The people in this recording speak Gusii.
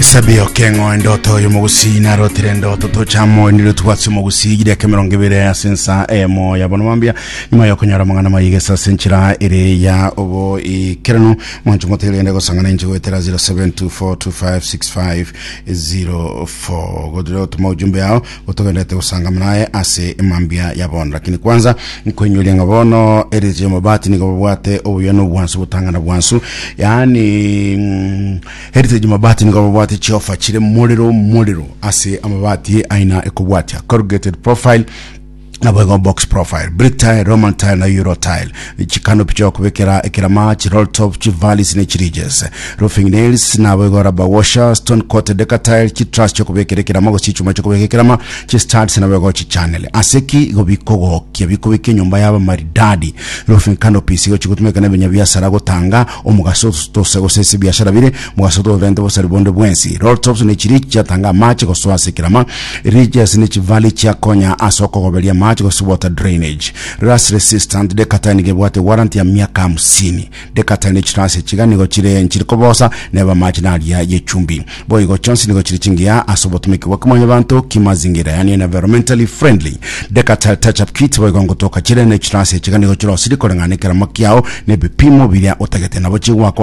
Sabio kengo endoto y'omogusii narotire endoto tochamo nire twatse omogusii gideka 20 ase ensa eyemo ya bono mambia nyuma yokonyora amang'ana mayigesa ase enchera ere ya oboikeranu mwancho motegerende gosang'ana inche goetera 0724256504 godire gotuma ujumbe yao gotogenderete gosangama naye ase emambia ya bono lakini kwanza nkoinyoria ng'a bono erieta ya mabati nigo babwate obuya na obwansu botang'ana bwansu yaani mm, Heritage Mabati nigo babwate chiofa chire morero morero ase amabati aina ekobwatia corrugated profile naboigo box profile brick tile roman tile na euro tile chikanopi chiokobekera ekerama chiroll top chivalis ne chiridges roofing nails naboigo rubber washer stone coated deca tile chitruss chiokobekera ekerama gose chichuma chiokobeka ekerama chistuds naboigo chichannel ase ki igo bikogokia bikobeka enyomba yaba maridadi roofing canopies igo chigotumeka na ebenyabiasara gotanga Omogaso tose gose ase ebiashara bire, mogaso torente bosari bonde bwensi. Roll tops ne chiri chiatanga amache gosoa ase ekerama, ridges ne chivalley chiakonya ase okogoberia amache gose water drainage. Rust resistant decatile nigo ebwate warranty ya miaka hamsini. Decatile ne chirasi chiga nigo chire nchiri kobosa neba amache naria ye chumbi. Boigo chionsi nigo chire chingiya ase obotumeki bwa kimwanyabanto kimazingira yani environmentally friendly. Decatile touch up kit boigo ngotoka chire ne chirasi chiga nigo chirosiri koreng'ana nekerama kiao na ebipimo biria otagete nabo chigwakwa.